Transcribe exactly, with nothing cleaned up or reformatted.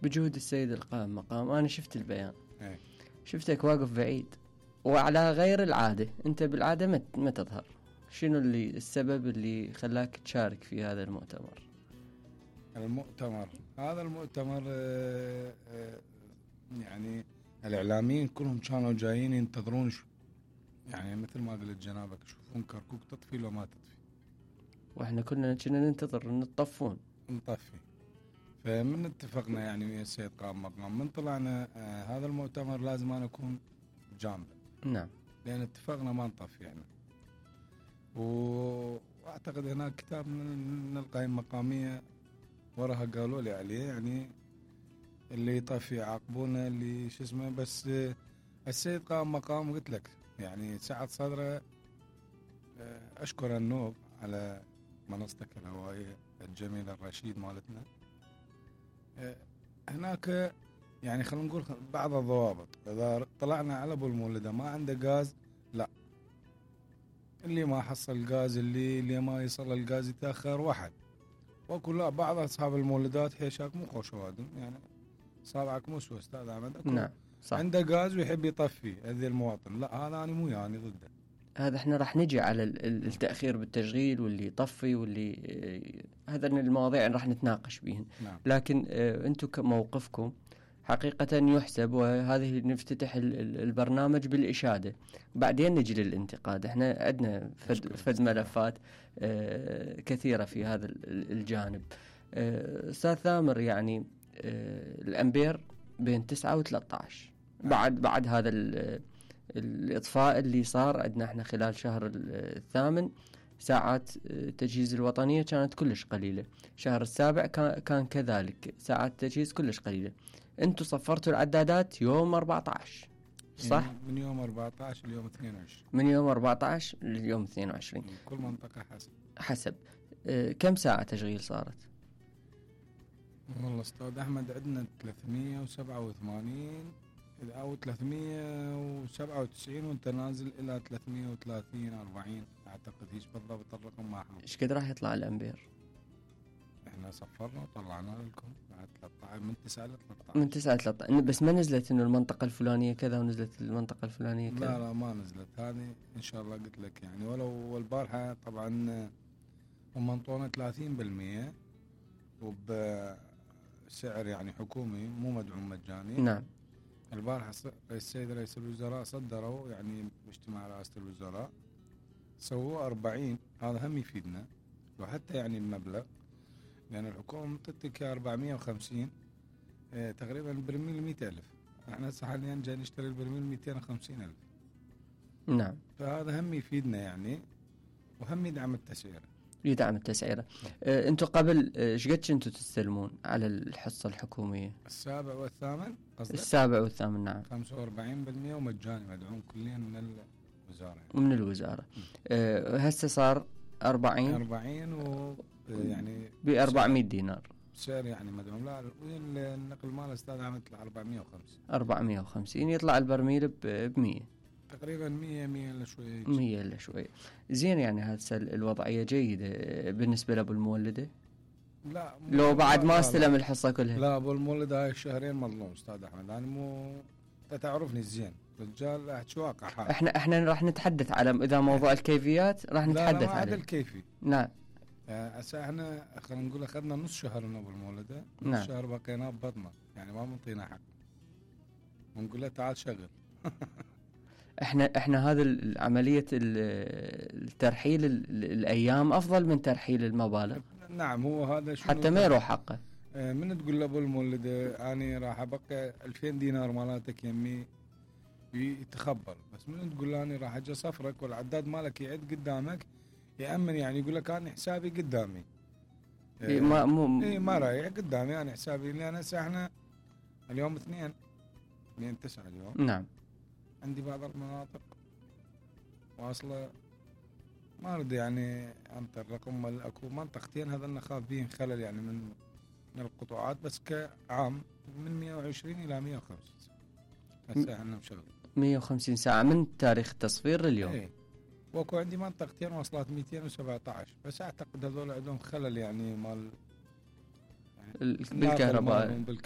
بجهود السيد القائم مقام. أنا شفت البيان، ايه. شفتك واقف بعيد وعلى غير العادة. أنت بالعادة ما ما تظهر. شنو اللي السبب اللي خلاك تشارك في هذا المؤتمر؟ المؤتمر هذا المؤتمر آه آه يعني الإعلاميين كلهم كانوا جايين ينتظرون شو يعني مثل ما قلت جنابك، يشوفون كركوك تطفي لو ما تطفي، واحنا كنا كنا ننتظر ان تطفون نطفي. فمن اتفقنا يعني ويا السيد قائم مقام من طلعنا آه هذا المؤتمر لازم أنا أكون جانبه. نعم. لأن اتفقنا ما نطفي يعني. وأعتقد هناك كتاب من القائمة المقامية وراها قالوا لي عليه يعني اللي يطفي يعاقبونه اللي شو اسمه. بس آه السيد قائم مقام قلت لك يعني سعة صدره. آه أشكر النوب على منصتك الهوائية الجميلة الرشيد مالتنا. آه هناك يعني خلينا نقول بعض الضوابط. إذا طلعنا على أبو المولدة ما عنده غاز، لا، اللي ما حصل غاز اللي اللي ما يصل الغاز يتأخر واحد. وأقول لا، بعض أصحاب المولدات حيشاك مو خوش وادم يعني صابعك مو سوى أستاذ أحمد. نعم صح. عنده غاز ويحب يطفي هذي المواطن، لا هذا أنا مو يعني ضده. هذا احنا راح نجي على التأخير بالتشغيل واللي يطفي واللي هذا المواضيع اللي راح نتناقش بيهن. نعم. لكن اه انتم كموقفكم حقيقة يحسب، وهذه نفتتح البرنامج بالإشادة بعدين نجي للانتقاد. احنا عندنا فد, فد ملفات اه كثيرة في هذا الجانب. اه أستاذ ثامر يعني اه الأمبير بين تسعة وثلاثة عشر بعد بعد هذا الإطفاء اللي صار عندنا احنا خلال شهر الثامن. ساعات التجهيز الوطنية كانت كلش قليلة. شهر السابع كان كذلك ساعات التجهيز كلش قليلة. انتوا صفرتوا العدادات يوم أربعة عشر صح؟ من يوم أربعة عشر ليوم اثنين وعشرين. من يوم أربعة عشر لليوم اثنين وعشرين. كل منطقة حسب حسب اه كم ساعة تشغيل صارت؟ والله أستاذ أحمد عندنا ثلاثمية وسبعة وثمانين أو ثلاثمية وسبعة وتسعين وانت نازل إلى ثلاثمية وثلاثين أربعين أعتقد. هيش بالضبط الرقم ما حاول. إيش قد راح يطلع الأمبير؟ إحنا صفرنا وطلعنا لكم بعد ثلاثة عشر من تسعة إلى ثلاثة عشر. من تسعة إلى ثلاثة عشر بس ما نزلت إنه المنطقة الفلانية كذا ونزلت المنطقة الفلانية كذا. لا لا ما نزلت هذه إن شاء الله قلت لك يعني. ولو البارحة طبعا هم منطونا ثلاثين بالمية وبسعر يعني حكومي مو مدعوم مجاني. نعم. البارحة السيد رئيس الوزراء صدروا يعني باجتماع رئاسة الوزراء سووا أربعين. هذا هم يفيدنا وحتى يعني المبلغ لأن يعني الحكومة مطتك أربعمية وخمسين اه تقريبا برميل مئة ألف. احنا حاليا جاي نشتري البرميل مئتين وخمسين ألف. نعم. فهذا هم يفيدنا يعني وهم يدعم التسعيرة. يدعم التسعيرة. اه انتوا قبل ايش قد كنتوا تستلمون على الحصة الحكومية؟ السابع والثامن قصدك؟ السابع والثامن نعم. خمسة وأربعين بالمية ومجاني مدعوم كليا من الوزارة يعني. ومن الوزارة. اه هسه صار أربعين أربعين و يعني بأربعمية دينار سعر يعني مدعوم. لا النقل مال أستاذ عم يطلع أربعمية وخمسين. أربعمية وخمسين يطلع البرميل بمية تقريبا مية مية إلا شوية. مية إلا شوية. زين يعني هسه الوضعية جيدة بالنسبة لأبو المولدة. لا لو بعد ما لا استلم لا الحصة كلها. لا أبو المولدة هاي الشهرين مظلوم أستاذ أحمد. أنا مو تعرفني زين رجال أحكي واقع حال. احنا احنا راح نتحدث على اذا موضوع الكيفيات راح نتحدث عليه. لا لا الكيفي. نعم. هسه احنا خلينا نقول اخذنا نص شهر من ابو المولده. نعم. نص شهر بقينا ببطنه يعني ما منطينا حق ونقول له تعال شغل. احنا احنا هذا عمليه الترحيل الايام افضل من ترحيل المبالغ. نعم هو هذا حتى ما يروح حقه. من تقول لابو المولده اني راح ابقى ألفين دينار مالتك يمي يتخبر. بس من تقول له اني راح اجي صفرك والعداد مالك يعد قدامك يأمن يعني يقول لك انا حسابي قدامي. إيه ما مو اي ما رايح قدامي انا حسابي. لان هسه احنا اليوم اثنين اثنين تسعة اليوم. نعم. عندي بعض المناطق واصله ما اريد يعني انت الرقم اكو منطقتين هذا نخاف بين خلل يعني من من القطاعات. بس كعام من مية وعشرين الى مية وخمسين هسه احنا مشغل مية وخمسين ساعة من تاريخ التصفير لليوم. ايه. واكو عندي منطقتين وصلت مئتين وسبعة عشر بس اعتقد هذول عندهم خلل يعني مال يعني بالكهرباء.